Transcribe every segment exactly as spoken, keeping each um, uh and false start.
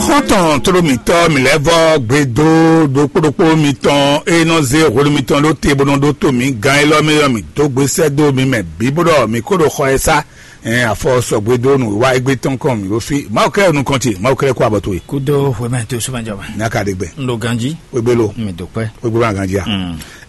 Kɔ́ntɔn tlóló mǐtɔn mǐ lɛ́ vɔ́ gbe dó ɖokpó ɖokpó mitɔn e nɔ zé hwenu mitɔn ɖó te bó nɔ ɖótó mǐ gán élɔ́ mɛ ɔ́, mǐ dó gbe sɛ́ dó mi mɛ bǐ bó ɖɔ mǐ kó ɖo xɔ ɛ sá. Ɛn afɔ sɔgbe dó nǔwiwa égbé tɔn kɔn mǐ ɖó fí. Mawu kɛ́ nukɔn ce, Mawu kɛ́ kó abɔ towe. Kúdó hwemɛ tó súnmɛjɔ mɛ. Ní a ka ɖe gbɛ. Un ɖo ganjí. Wégbé lo. Mi dó pẹ́. Wégbé ma ganjí a.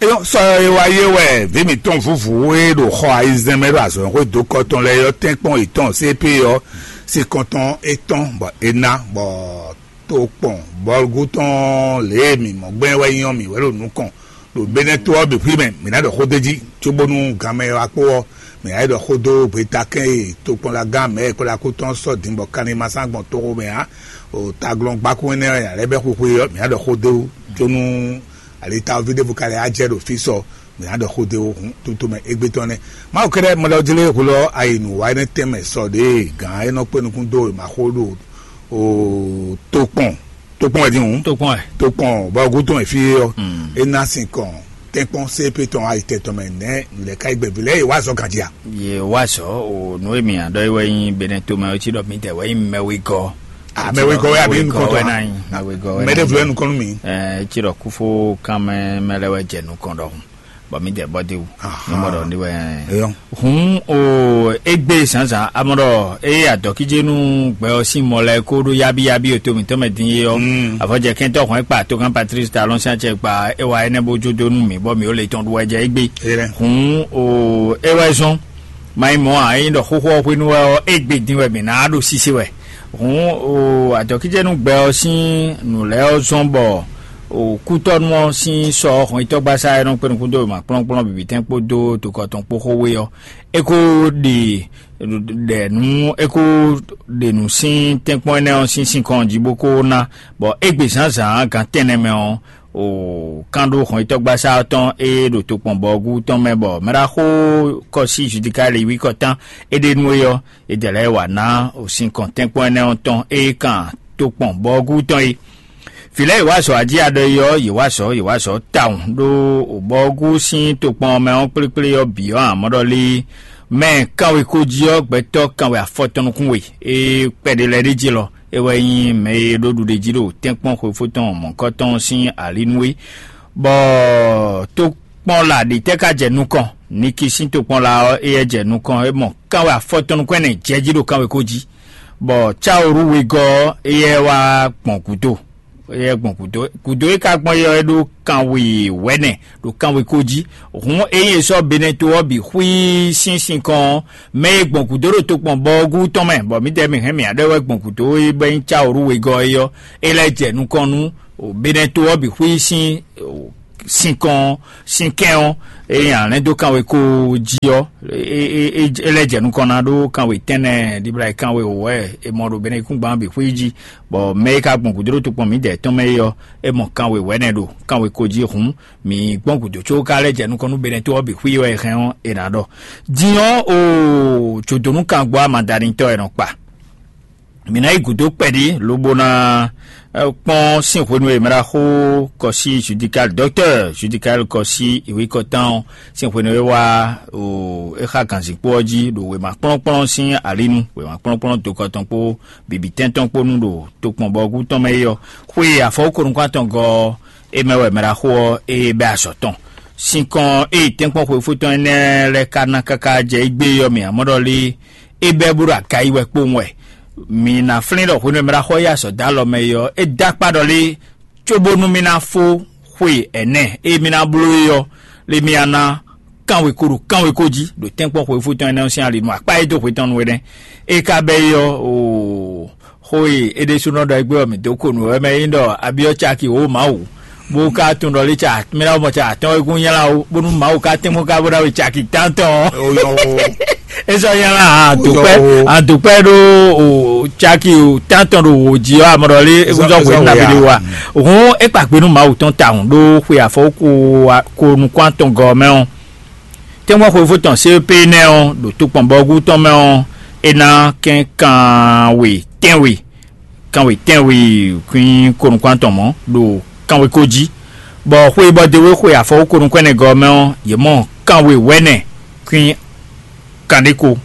Eyɔn sɔ e wa yé wɛ vǐ mǐtɔn vúvú e ɖo xɔ ayizɛ́n mɛ ɖo azɔ̌xwé dó kɔ tɔn lɛ́ɛ ɔ́ tɛ́nkpɔ́n yětɔn C P ɔ́, sin kɔntɔn étɔn bɔ é ná bɔ tó kpɔn bɔlugú tɔn lě e mǐ mɔ gbɛn wɛ nyí ɔ́, mǐ wɛ ɖo nukɔn ɖo Benɛto ɔ́ bǐ xwí mɛ, mǐ ná ɖɔ xó d'é jí, cóbónú ganmɛ wá kpó ɔ́, mǐ ná yi ɖɔ xó dó gbeta kɛn e tokpɔnlagán mɛ e kplá kú tɔn sɔ́ din bɔ kanni ma sán gbɔn toxo mɛ ǎ. O taglɔ́ngbákún énɛ́ ɔ́, nya lɛ́ɛ bɛ́ xwixwe ɔ́, mǐ ná ɖɔ xó dó wú, cónú alitaví ɖěvo ka lɛ́ á jɛ ɖo fí sɔ, mǐ ná ɖɔ xó dó wú hǔn, tutomɛ égbé tɔn nɛ́. Mawu kɛ́ɖɛ́ mɔɖɔjlé hwlɔ́ ayi nǔ wa énɛ́ tɛnmɛ sɔ ɖě gǎn é nɔ kpé nukún dó e ma xó ɖo o tokpɔn tokpɔn wɛ din hǔn. Tokpɔn wɛ. Tokpɔn bɔ gúdo wɛ fí é ɔ́, é ná sin kɔn tɛ́nkpɔ́n C P tɔn ayi tɛn tɔn mɛ nɛ́ nǔ lɛ́ɛ ka yi gbɛ̌ vǐ lɛ́ɛ yi wá zɔ ganjí a? Yě wá zɔ o nǔ e mǐ nya ɖɔ é wɛ nyí Benɛto mɛ ɔ́ cí ɖɔ mǐdɛɛ wɛ nyí mɛwegɔ́. Ah, mɛwegɔ́ wɛ àbí nukɔntɔn wɛ a? Ná nyí mɛwegɔ́ wɛ. Mɛɖé ná vlɛ́ nyí. Nukɔn nú mǐ. Ɛ, é cí ɖɔ kúfó kan mɛ mɛ lɛ́ɛ wɛ jɛ nukɔn ɖɔhun, bɔ mǐdɛɛ bɔ dé wú. Aha. Ní mɔ ɖɔ ní wɛ. Eyɔn. Hǔn o égbé zǎnzǎn amɔ ɖɔ eye adɔkíjénú gbɛ ɔ́ sín mɔ lɛ́ɛ kó ɖó yábíyábí o to mǐtɔn mɛ din é ɔ́, avɔjɛ kɛntɔ́ hɔn e kpa togán Patrice Talon sín acɛ gba é wa énɛ́ bó jó dó nú mǐ bɔ mǐ ó le tɔn ɖu wɛ jɛ égbé. Eyɛn. Hǔn o é wɛ zɔ́n. Ma nyí mɔ̌ ǎ, é nyí ɖɔ xóxó ɔ́ hwenu wɛ ɔ́, égbé din wɛ mǐ ná ɖo sísé wɛ. Hǔn o adɔkíjɛnúgbɛ ɔ́ sín nǔ lɛ́ɛ ɔ́ zɔ́n bɔ o kútɔ́nú ɔ́ sín sɔ ɔ́ hɔn itɔ́gbasá e nɔ kpé nukún dó wěma kplɔ́nkplɔ́n bǐbítɛ́n kpódó tokɔ tɔn kpó xó we ɔ́, é kó ɖe ɖɛ nǔ é kó ɖe nǔ sín tɛ́nkpɔ́n énɛ́ ɔ́ sín sinkɔn jí bó kó ná, bɔ égbé zǎnzǎn gan tɛ́nnɛ mɛ ɔ́, o kán ɖó hɔnyitɔ́gbasá ɔ́ tɔn e ɖo tokpɔnbɔgú tɔn mɛ bɔ mɛɖaxó kɔsí Judikali wí kɔtán é ɖe nú é ɔ́, é dɛ lɛ́ɛ wǎ ná o sinkɔn tɛ́nkpɔ́n énɛ́ ɔ́ tɔn e kan tokpɔnbɔgú tɔn é. Vǐ lɛ́ɛ yě wá azɔ̌ ají aɖɔ é ɔ́, yě wá azɔ̌, yě wá azɔ̌ tawun ɖó bɔgú sín tokpɔn ɔ́ mɛ ɔ́ kplékplé ɔ́ bǐ ɔ́ ǎ mɔ ɖɔ lé mɛ kanwe kó jí ɔ́, gbɛtɔ́ kanwe afɔtɔn nukún we é kpɛɖé lɛ́ɛ ɖ'é jí lɔ. É wɛ nyí mɛ e ɖó ɖuɖéjí ɖo tɛ́nkpɔ́n xwefó tɔn mɔ̌kɔ́ tɔn sín alínú é, bɔ tokpɔnla ɖětɛ́ ka jɛ nukɔn? Niki sín tokpɔnla ɔ́, éyɛ́ jɛ nukɔn, é mɔ kanwe afɔtɔn nukún ɛnɛ jɛ jí ɖo kanwekó jí, bɔ cáworú wegɔ́ ɔ́, éyɛ́ wá gbɔn gǔdo. Éyɛ́ gbɔn gǔdo. Gǔdo e ka gbɔn é ɔ́, é ɖó kanwe wɛ̌nɛ ɖo kanwekó jí. Hǔn ényí è sɔ́ Benɛto ɔ́ bǐ xwíí sín sinkɔn ɔ́, mɛ e gbɔn gǔdo ɖo tokpɔn bɔɔgú tɔn mɛ, bɔ mǐdɛɛ mǐ hɛn mǐ aɖe wɛ gbɔn gǔdo é bɔ nyí cáworú wegɔ́ é ɔ́, é lɛ́ jɛ nukɔn nú Benɛto ɔ́ bǐ xwíí sín sinkɔn ɔ́, sín kɛ́n ɔ́, ényí a lɛ́n dó kanwekó jí ɔ́, é lɛ́ jɛ nukɔn ná ɖó kanwe tɛ́nnɛ ɖibla e kanwe wǒ wɛ è mɔ ɖo Benɛkúngban bǐ xwíí jí, bɔ mɛ e ka gbɔn gǔdo ɖo tokpɔn mǐdɛɛ tɔn mɛ é ɔ́, é mɔ kanwe wɛ̌nɛ ɖo kanwekó jí hǔn, mǐ gbɔn gǔdo có ka lɛ́ jɛ nukɔn nú Benɛto ɔ́ bǐ xwíí wɛ è hɛn ɔ́, è nǎ ɖɔ. Din ɔ́, o jǒdónúkangbo amadanitɔ́ è nɔ kpa. Mǐ ná yi gǔdo kpɛɖí lobo ná kpɔ́n sín hwenu e mɛɖaxó kɔsí Judikali, dɔktɛ́ Judikali kɔsí ìwé kɔtán ɔ́ sín hwenu e wá o é xá gǎnzíkpó ɔ́ jí ɖo wěma kplɔ́nkplɔ́n sín alinu, wěma kplɔ́nkplɔ́n dokɔ tɔn kpó bǐbítɛ́n tɔn kpó nu ɖo tokpɔnbɔgú tɔn mɛ é ɔ́, xwe afɔwúkonukún atɔngɔ́ ɔ́, é mɛ wɛ mɛɖaxó ɔ́ é bɛ́ azɔ̌ tɔn. Sinkɔn ée tɛ́nkpɔ́n xwefó tɔn énɛ́ lɛ́ɛ ka ná káká jɛ égbé ɔ́ mɛ ǎ mɔ ɖɔ lé é bɛ́ bó ɖo aga yi wɛ kpowun wɛ. Mǐ ná flín ɖɔ hwenu e mɛ ɖo axɔ yi azɔ̌ dó alɔ mɛ é ɔ́, é dó akpá ɖɔ lé cóbónú mì ná fó xwe ɛnɛ e mì ná bló é ɔ́, lé mì ná kanwe ko ɖo kanwe ko jí ɖo tɛ́nkpɔ́n xwefó tɔn énɛ́ ɔ́ sín ali nú akpá e dó hwe tɔn nú é nɛ́. É ka bɛ́ é ɔ́, oo, xó e é ɖésúnɔ ɖɔ égbé ɔ́, mǐ dó ko nǔ wɛ mɛ é nyí ɖɔ abyɔ́ caki wǒ Mawu, bó ka tunwun ɖɔ lé ca mì ná mɔ ca atɔ́wɛ́kún nylá ó, bónú Mawu ka tɛ́nkpɔ́n ka bó ná we caki tántɔn ɔ́. Ó yɔ ó. É sɔ́ nylá adǒkpɛ́, adǒkpɛ́ ɖó o caki tántɔn ɖo wǒ jí ɔ́, amɔ ɖɔ lé é kún zɔ́ hwě nú nabí ɖé wa. Hǔn é kpa gbe nú Mawu tɔn tawun ɖó xwe afɔ ko nukún atɔn gɔ́ mɛ ɔ́. Tɛ́nkpɔ́n xwefó tɔn C P nɛ́ ɔ́ ɖo tokpɔnbɔgú tɔn mɛ ɔ́, é ná kɛn kanwe tɛ́nwe, kanwe tɛ́nwe kwín konukún atɔn mɔ̌ ɖo kanwe ko jí, bɔ xwe bɔ d'é wé xwe afɔwú konukún ɛnɛ gɔ́ mɛ ɔ́, yě mɔ kanwe wɛ̌nɛ kwín kanɖé ko.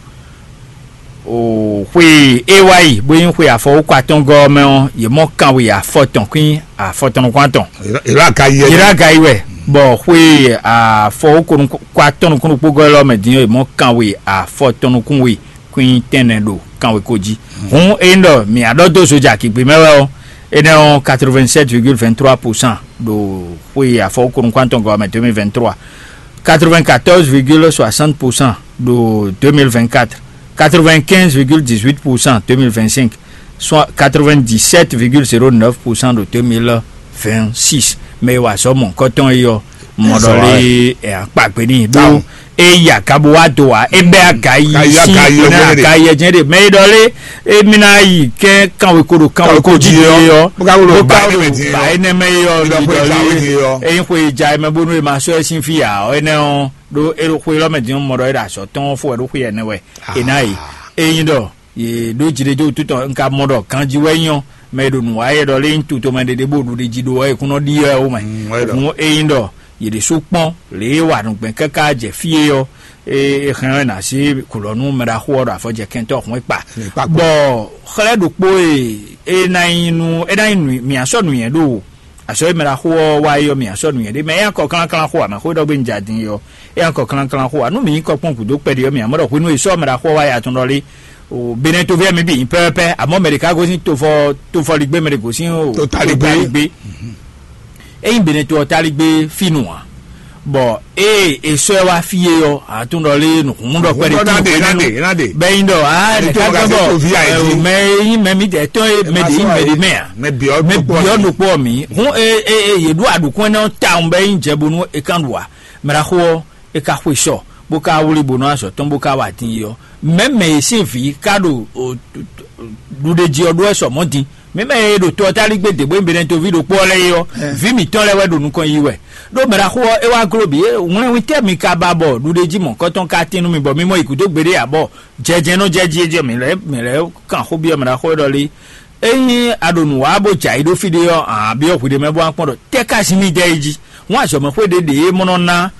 O xwe e wá yi bó nyí xwe afɔwúkɔ atɔ́ngɔ́ ɔ́ mɛ ɔ́, yě mɔ kanwe afɔtɔn kwín afɔtɔn nukún atɔn. Ìlú Agayi wɛ. Yě ɖo Agayi wɛ, bɔ xwe afɔwúkɔ atɔ́n nukún ɖokpó gɔ́ élɔ́ mɛ din ɔ́, yě mɔ kanwe afɔtɔn nukún we kwín tɛnɛ ɖo kanwe ko jí. Hǔn ényí ɖɔ mǐ á ɖɔ dó zoja kigbe mɛ wɛ ɔ́, énɛ́ ɔ́ quatre-vingt-sept virgule vingt-trois pour cent ɖo xwe afɔwúkɔ nukún atɔ́ngɔ́ mɛ deux mille vingt-trois, quatre-vingt-quatorze virgule soixante pour cent ɖo deux mille vingt-quatre, quatre-vingt-quinze virgule dix-huit pour cent deux mille vingt-cinq, soit quatre-vingt-dix-sept virgule zéro neuf pour cent ɖo deux mille vingt-six. Mɛ e wa azɔ̌ mɔ̌hunkɔtɔn é ɔ́, mɔ ɖɔ lé ɛ akpa gbe n'i ɖó e yi aga bo wá do ǎ, é bɛ́ aga yi sín aga yi ɛ jɛ́n ɖe. Mɛ e ɖɔ lé émí ná yi kɛ́n kanweko ɖo kanweko jí é ɔ́, bó ka wúlò ba énɛ́ mɛ é ɔ́, mi ɖɔ lé é nyí xwe e ja é mɛ bónú è ma sɔ́ ɛ sín fí ǎ ɔ́, énɛ́ ɔ́ ɖó é ɖo xwe élɔ́ mɛ din ɔ́, mɔ ɖɔ é ɖo azɔ̌ tɔn fó wɛ ɖó xwe énɛ́ wɛ. È nǎ yi. É nyí ɖɔ yě ɖó jiɖejo wútu tɔn, un ka mɔ ɖɔ ganjí wɛ nyí ɔ́, mɛ e ɖo nǔ wa é ɖɔ lé nyí tutomɛ ɖé ɖé bó ɖuɖe jí ɖó wɛ é kún nɔ ɖi wɛ ó mɛ. Hǔn é nyí ɖɔ yě ɖésú kpɔ́n lě e wa nǔgbɛ́ káká jɛ fí é ɔ́, é hɛn ɔ́, è nǎ sí gǔlɔ nú mɛɖaxó ɔ́ ɖo afɔjɛkɛntɔ́ hɔn e kpa. Bɔ xlɛ́ ɖokpó e é ná nyí nú é ná nyí nǔ mǐ á sɔ́ nǔnywɛ́ ɖo azɔ̌ e mɛɖaxó ɔ́ wa é ɔ́, mǐ á sɔ́ nǔnywɛ́ ɖé. Mɛ é nyí akɔ klánklán xó ǎ, mɛ xó e ɖɔ gbé un jɛ din é ɔ́, é nyí akɔ klánklán xó ǎ. Nú mǐ nyí kɔkpɔ́n gǔdo kpɛɖé ɔ́, mǐ á mɔ ɖɔ hwenu e sɔ́ mɛɖaxó ɔ́ wa é atɔn ɖɔ lé, o Benɛtoví ɔ́ mǐ bǐ nyí pɛ́pɛ́pɛ́, amɔ̌ mɛ ɖě ka gosín tofɔ tofɔligbé, mɛ ɖě gosín o Totaligbé. Totaligbé. Ényí Benɛto ɔ́ táligbé fínu ǎ, bɔ ée è sɔ́ ɛ wá fí é ɔ́, a tunwun ɖɔ lé nǔhúnmú ɖɔ kpɛɖé Nǔhúnmú ɖɔ tín nǎɖe, hwenu nǎɖe, nǎɖe. Bɛ́ nyí ɖɔ ǎ Ɛ, nɛ̌ká tó gbɛ́ ɔgǎ bɔ tó ví ayé ɛ, jí. Mɛ e nyí mɛ mǐdɛɛ tɔn e mɛ ɖě nyí mɛ ɖě mɛ ǎ. Mɛ bǐ ɔ́ Mɛ bǐ ɔ́ ɖokpó ɔ́ mǐ hún e e e yě ɖu aɖǔkún énɛ́ ɔ́ tawun bɛ́ nyí jɛ bónú è kán ɖu ǎ. Mɛɖaxó ɔ́, é ka xwe sɔ, bó ka wlí bó nɔ́ azɔ̌ tɔn bó ka wa din yi ɔ́, mɛ̌ mɛ e sín vǐ ka ɖo ɖuɖeji ɔ́ ɖó wɛ sɔ mɔ̌ din? Mǐ mɛ e ɖo to ɔ́ táligbé dě bó nyí Benɛtoví ɖokpó ɔ́ lɛ́ɛ é ɔ́, vǐ mǐtɔn lɛ́ɛ wɛ ɖo nukɔn yi wɛ. Ɖó mɛɖaxó ɔ́, é wá gló bǐ, wlɛ́nwítɛ́ mi ka ba bɔ ɖuɖeji mɔ̌kɔtɔn ka tín nú mi bɔ mi mɔ yi gǔdo gbeɖé ǎ, bɔ jɛjɛ nɔ jɛ jí é jɛ mǐ lɛ́ɛ mǐ lɛ́ɛ kan xó byɔ́ mɛɖaxó ɔ́ ɖɔ lé? Ényí a ɖo nǔ wa bó jɛ ayǐ ɖó fí ɖé ɔ́, a nǎ byɔ́ hwiɖée mɛ bó ná kpɔ́n ɖɔ tɛ́ ka sin mì dɛ é jí? Hǔn azɔ̌mɛxwé ɖě ɖě e mɔ nɔ ná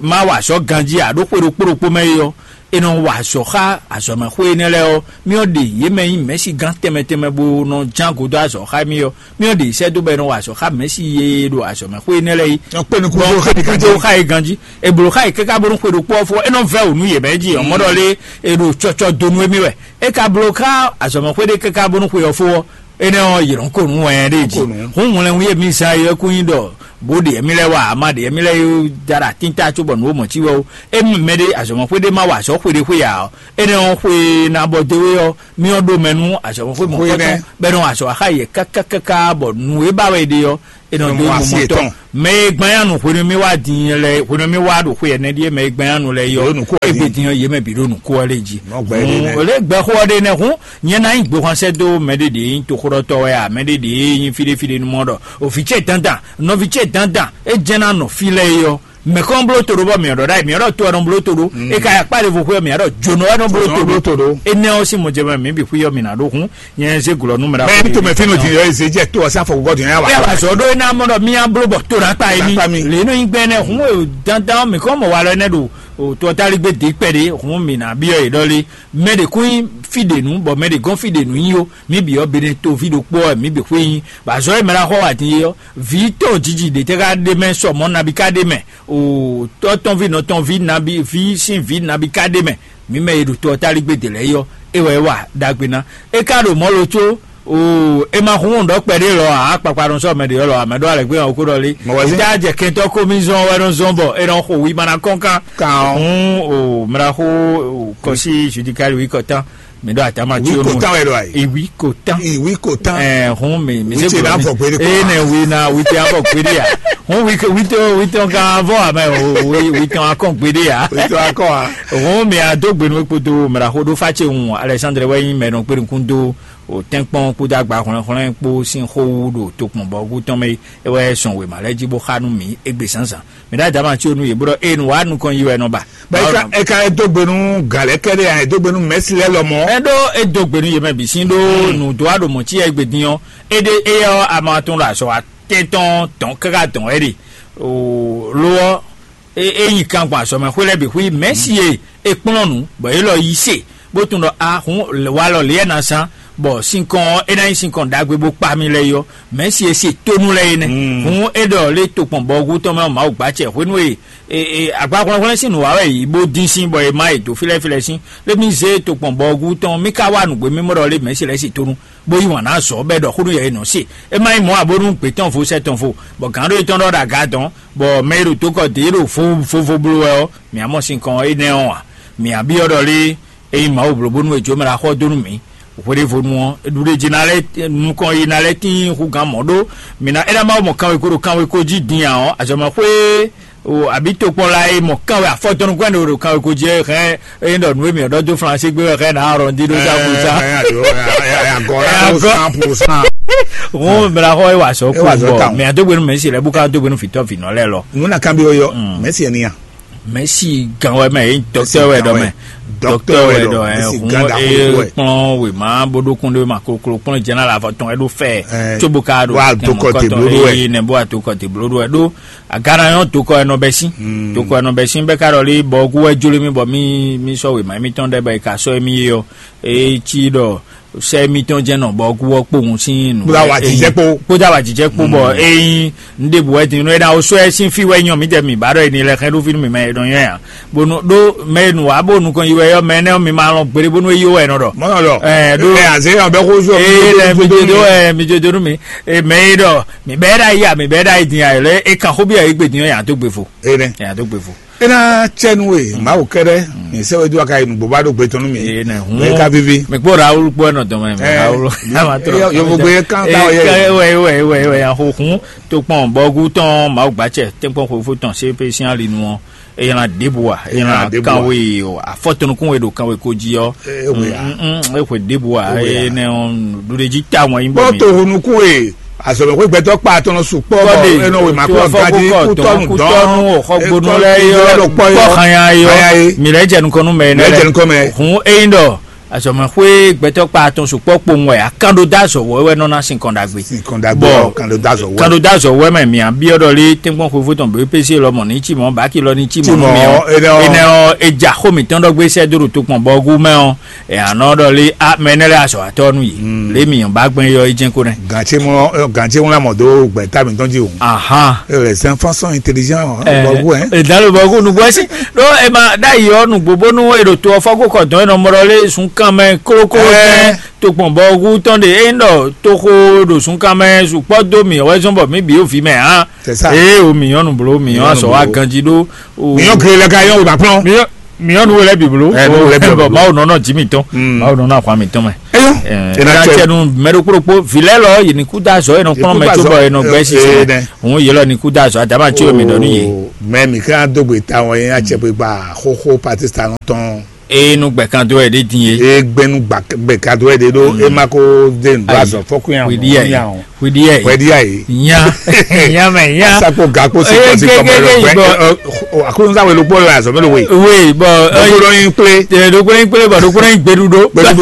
má wa azɔ̌ ganjí ǎ ɖó xwe ɖokpó ɖokpó mɛ é ɔ́, è nɔ wa azɔ̌ xá azɔ̌mɛxwé énɛ́ lɛ́ɛ ɔ́, mì ɔ́ ɖe yě mɛ nyí mɛ̌sigán tɛnmɛ tɛnmɛ bó nɔ ján godó azɔ̌ xá mì ɔ́, mì ɔ́ ɖe sɛ́ dó bɔ è nɔ wa azɔ̌ xá mɛ̌si e ɖo azɔ̌mɛxwé énɛ́ lɛ́ɛ é. Ɔ kpé nukún Bɔ xó xá é nukún ganjí. Xá é ganjí. È blǒ xá yě káká bónú xwe ɖokpó ɔ́ fó ɔ́, é nɔ vɛ́ wǔ nú yě mɛ jí ɔ́, mɔ ɖɔ lé è ɖo cɔcɔ donu émí wɛ. É ka bló xá azɔ̌mɛxwé ɖé káká bónú xwe ɔ́ fó ɔ́, énɛ́ ɔ́, yě nɔ ko nǔ wɛn ɖé jí. Hǔn hwlɛnwú e mi zán é kún nyí ɖɔ bó ɖe émí lɛ́ɛ wá, a ma ɖe émí lɛ́ɛ yó da ɖo atínta cóbɔ nǔ e mɔ̌ cí wɛ ó. Émi mɛɖé azɔ̌mɔxwé ɖé ma wa azɔ̌ xwe ɖé xwe ǎ ɔ́, énɛ́ ɔ́, xwe ná bɔ dó é ɔ́, mì ɔ́ ɖo mɛ nú azɔ̌mɔxwé mɔ̌kɔtɔn bɔ é nɔ wa azɔ̌ wa xá yě káká káká bɔ nǔ e ba wɛ è ɖe ɔ́, è nɔ dó mɔ asi mɔtɔn. Mɛ e gbán yá nǔ hwenu mì wá din lɛ hwenu mì wá ɖo xwe ɛnɛ ɖíe mɛ e gbán yá nǔ lɛ yɔ. Yě ɖo nǔ kó wɛ din. Égbe din ɔ́, yě mɛ bǐ ɖo nǔ kó wɛ lé jí. Nɔ gbɛ ɖé nɛ́. Hǔn, lě gbɛxó ɔ́ ɖe nɛ́ hǔn, nyɛ ná nyí gběhwanṣɛ́ dó mɛ ɖé ɖě nyí toxóɖɔtɔ́ wɛ a, mɛ ɖé ɖě nyí fíɖéfíɖé nú mɔ ɖɔ o vǐ ce dandan, nɔví ce dandan, é jɛ́n ná nɔ fí lɛ́ɛ é ɔ́, mɛ̌ kɔn bló to ɖó bɔ mǐ ɔ́ ɖɔ ɖ'ayǐ, mǐ ɔ́ ɖɔ to ɔ́ nɔ bló to ɖó. É ka yi akpá ɖěvo xwé ɔ́, mǐ ɔ́ ɖɔ jónɔ wɛ nɔ bló to ɖó. Bló to ɖó. Énɛ́ ɔ́ sín mɔjɛmɛ mǐ bǐ xwí ɔ́ mǐ ná ɖó hún, nyɛ zé glɔ̌ nú mɛ ɖaxó. Mɛ ní to mɛ fínú din yɔ eze jɛ to ɔsán fɔkɔkɔ din ya wa. Pé wà zɔ ɖó iná mɔ ɖɔ mía bló bɔ to ɖa kpa yé mi. Lě nɔ nyi gbɛ nɛ hún e dandan mǐ kɔn mɔ wa lɔ nɛ ɖo o tɔ tali gbé dé kpɛ ɖé hún mǐ ná byɔ́ yě ɖɔ lé. Mɛ ɖě kún nyí fí ɖě nú bɔ mɛ ɖě gɔ́n fí ɖě nú nyí ó. Mǐ bǐ ɔ́ Benɛtoví ɖokpó ɔ́ mǐ bǐ xwé nyí. Bɔ azɔ̌ e mɛ ɖaxó wa din é ɔ́, vǐ tɔn jiji ɖě tɛ ka ɖe mɛ sɔ mɔ̌ nabi ka ɖe mɛ. O tɔ́ tɔn ví nɔ tɔn ví nabi ví sín vǐ nabi ka ɖe mɛ. Mǐ mɛ e ɖo to ɔ́ táligbé dě lɛ́ɛ é ɔ́, é wɛ é wa ɖagbe ná. É ka ɖo mɔ̌ lo có, o é ma hun ɖɔ kpɛɖé lɔ ǎ, kpakpa nɔ sɔ́ mɛ ɖě lɔ ǎ, mɛ ɖɔ alɛ̌gbé ɔ́ kó ɖɔ lé. Mɔ̌ wɛ zé. Tá jɛ kɛntɔ́ kómízɔn wɛ nɔ zɔn bɔ é nɔ xo wi ma ná kɔn kan. Kan ɔ́. Hun o mla xó o kɔsí judikali wi kɔtán. Mi ɖo atama tí o nu. Wi kò tán wɛ ɖo ayi. Iwi kò tán. Iwi kò tán. Ɛ hun mi mi se gbɔ mi. Ee ne wi na wi te abɔ gbede ya. Hun wi wi te wi te kan avɔ amɛ o wi wi te akɔn gbede ya. Wi te akɔn a. Hun mi a do gbenu kpoto mra ho do fa ce hun Alexandre wɛ yin mɛ nɔ kperi kun do o tɛnkpɔn kpodo agba hɔnlɛn hɔnlɛn kpo sin xo wu ɖo tokpɔn bɔ wu tɔn mɛ e wɛ sɔn wema lɛ ji bo xa nu mi egbe zanzan. Mi ɖo adama tí o nu yě bó ɖɔ eye nu wá nukɔn yi wɛ nɔ ba. Bɛ eka eka e dó gbe nú galɛ kɛɖɛ ya e dó gbe nú mɛsi lɛ lɔmɔ. Ɛ ɖó e dó gbe nú yě mɛ bǐ sín ɖó nǔ dó aɖo mɔ̌ cí yɛ gbe dín ɔ́, é ɖé éyɛ ɔ́ a ma tún ɖo azɔ̌ wa tɛ́ntɔn dɔn káká dɔn wɛ ɖe. Lo ɔ́, é é nyi kan gbɔn azɔ̌ mɛ xwé lɛ́ɛ bǐ xwí mɛ̌si e è kplɔ́n nǔ bɔ é lɔ yí se. Bó tunwun ɖɔ a hǔn walɔ lě e ná zán, bɔ sinkɔn ɔ́ é ná nyí sinkɔn ɖagbe bó kpa mì lɛ́ɛ é ɔ́, mɛ̌si e se tónú lɛ́ɛ é nɛ́. Hǔn é ɖɔ lé tokpɔn bɔhúgú tɔn mɛ ɔ́, Mawu gbá acɛ hwenu e e- e- agbahwlɛ́nhwlɛ́n sín nǔ wa wɛ yě bó dín sín bɔ è má yě dó fílɛ́fílɛ́ sín, lé mì zé tokpɔn bɔhúgú tɔn mì ka wá nǔgbé mímɔ́ ɖɔ lé mɛ̌si lɛ́ɛ se tónú, bó yí wǎn ná azɔ̌ bɔ é ɖɔ xó nú yɛ e nɔ se. É má nyí mɔ̌ ǎ bónú gbě tɔn vo sɛ́ tɔn vo, bɔ gǎn ɖó é tɔn ɖɔ ɖo aga dɔn, bɔ mɛ e ɖo tokɔ dě ɖo vovo bló wɛ ɔ́, mǐ á mɔ sinkɔn énɛ́ ɔ́ ǎ. Mǐ á byɔ́ ɖɔ lé ényí Mawu bló bónú è jó mɛ ɖo axɔ dó nú mǐ hweɖěvonu ɔ́, ɖuɖéjí ná lɛ́ nukɔn yi ná lɛ́ tín hú gǎn mɔ̌ ɖó. Mǐ ná é ná má mɔ kanweko ɖo kanweko jí din ǎ ɔ́, azɔ̌mɛxwé o abǐ tokpɔn la e mɔ kanwe afɔtɔnukɔn ɖo ɖo kanweko jí é hɛn é ɖɔ nǔ e mǐ ɖɔ dó Flansé gbé wɛ hɛn ná arɔndi ɖó sa kú sa. Agora. Ŋu mla xɔ é wà sɔ kú bɔ mɛ adógbénu mɛ si lɛ bú ká dógbénu fìtɔ fìnɔ lɛ lɔ. Nuna kan bi oyɔ mɛ si ɛni ya. Mɛsi gan wɛ mɛ, yé dɔktɛr wɛ dɔ mɛ. Dɔktɛr wɛ dɔ ɛ. Hun e kplɔn wema bó ɖó kún ɖé ma koklo kplɔn jɛnɛ la fɔ tɔn ɛ ɖó fɛ. Tsobo ka ɖo tɛmɔkɔtɔ eye nɛ bó ato kɔte blo ɖó ɛ ɖó. Agana yɔn tokɔ ɛ nɔ bɛ sín. Tokɔ ɛ nɔ bɛ sín bɛ ka ɖɔ lé bɔ gu wɛ jló mi bɔ mi mi sɔ wema mi tɔn ɖɛ bɛ ka sɔ mi yɔ. Etsi ɖɔ sɛ mitɔn jɛ nɔ bɔ gu wɔ kpowun sín nù. Kpódà wà jijɛ kpó. Kpódà wà jijɛ kpó bɔ eyin. N ɖe bù wɛ din nɔ ena o sɔ ɛ sín fi wɛ nyɔ mi tɛ mi ba ɖɔ eni lɛ xɛ ɖó fi nú mi mɛ e nɔ nyɔ ya. Bonu ɖó mɛ e nù wá bó nukɔn yi wɛ yɔ mɛ nɛ mi ma lɔn gbére bónú e yó wɛ nɔ ɖɔ. Mɔnɔ ɖɔ. Ɛ ɖó. Ɛ azɛ yɔ bɛ xó sɔ. Ee lɛ mi do do ɛ mi do do nú mi. E mɛ e ɖɔ mi bɛ ɖa yi a mi bɛ ɖa yi din a yɛlɛ e kan xó bi a yi gbe din yɔ ya tó gbe fo. Ene. Ya tó gbe fo. Ena cɛnu e Mawu kɛɖɛ mi sɛ wɛ do aka yi nugbo ba ɖo gbe tɔn nú mi. Ene hun. Mɛ ka vivi. Mi kpó Raoul kpó ɛnɔ dɔn mɛ. Ɛ, Raoul. Yovo gbe kan ta wɛ yɛ. Wɛ wɛ wɛ wɛ ya xo hun. Tó kpɔn bɔgu tɔn Mawu gbatsɛ tɛnkpɔn xwefó tɔn sepe sín alinu ɔ. Eyana ɖěbǔ a? Eyana ɖěbǔ a? Kanwe o afɔtɔnukun e ɖo kanwe ko jí ɔ. Ehwe a? Ehwe ɖěbǔ a? Ehwe a? Ene ɔ ɖuɖeji ta wɔn yi bɔ mi. Bɔ to hunukun e azɔmɛxwe gbɛtɔ kpa atɔnɔ sukpɔ bɔ enɔ wema kɔ gaji kutɔnu dɔn. Xɔgbonu lɛ yɔ kpɔ hanya yɔ. Mi lɛ jɛ nukɔn nu mɛ. Mi lɛ jɛ nukɔn mɛ. Hun eyin dɔ azɔmɛxwe gbɛtɔ kpa atɔn sukpɔ kpowun wɛ akan ɖo da azɔ wɔ wɛ nɔ na sin kɔn ɖagbe. Sin kɔn ɖagbe. Bɔ kan ɖo da azɔ wɔ. Kan ɖo da azɔ wɛ mɛ mi abiɔ ɖɔ lé tɛnkpɔn xwefó tɔn bɛ pese lɔ mɔ ní tsi mɔ baki lɔ ní tsi mɔ nú mi ɔ. Enɛ ɔ edza xó mitɔn ɖɔ gbé sɛ dó ɖo tokpɔn bɔ gu mɛ ɔ. Ɛ anɔ ɖɔ lé a mɛ nɛ lɛ azɔ atɔ nu yi. Lé mi yɔn ba gbɛn yɔ yi jɛn ko nɛ. Gantse mɔ gantse ŋlá mɔ dó gbɛta mitɔn jí o. Ahan. E les enfants sont intelligents. Bɔ gu ɛ. Edalo bɔ gu nugbɔ si. Ɖó ema ɖ'ayǐ ɔ́ nǔgbó bónú è ɖo to ɔ́ fɔ́ kó kɔ dɔn é nɔ mɔ ɖɔ lé zunkanmɛ klókló tɛn tokpɔn bɔ hu tɔn ɖe é nyí ɖɔ toxo ɖo zunkanmɛ sukpɔ́ dó mǐ wɛ zɔn bɔ mǐ bǐ ɖo vǐ mɛ hǎn. C'est ça. Ee o mǐ nyɔ́ nǔbló mǐ nyɔ́ azɔ̌ wa ganjí ɖó. Mǐ nyɔ́ gre lɛ ka nyɔ́ wòbá kplɔ́n. Mǐ nyɔ́ nǔ lɛ́ bǐ bló. Ɛ nǔ lɛ́ bǐ bló. Bɔ Mawu nɔ nɔ jǐ mǐtɔn. Mawu nɔ nɔ ahwan mǐtɔn mɛ. Eyɔ. Ena cɛnu mɛ ɖokpó ɖokpó vǐ lɛ́ɛ lɔ yě ní kú dó azɔ̌ yě nɔ kplɔ́n mɛ cóbɔ yě nɔ gbɛ́ sisi mɛ. Òun yě lɔ ní kú dó azɔ̌ adama cí omi ɖɔ nú yě. Mɛ mi ká dó gbe ta wọn yẹn acɛ pé gba xóxó Pakistan tɔn. Eye nú gbɛ̀kan dó wɛ ɖé din e. Eye gbɛnu gbɛ̀kan dó wɛ ɖé ɖó e ma ko dé nu azɔ fɔkun ya. Hwiɖi yɛ. Hwiɖi yɛ. Hwiɖi yɛ. Nya. Nya mɛ nya. Sakpo gakpo si kɔsi kɔmɔ lɔ gbɛ. Akunsa wele kpɔ la azɔ mɛ lo we. We bɔ. Ɖokpo ɖɔ yin kple. Ɖokpo yin kple bɔ ɖokpo yin gbeɖuɖo. Gbeɖuɖo.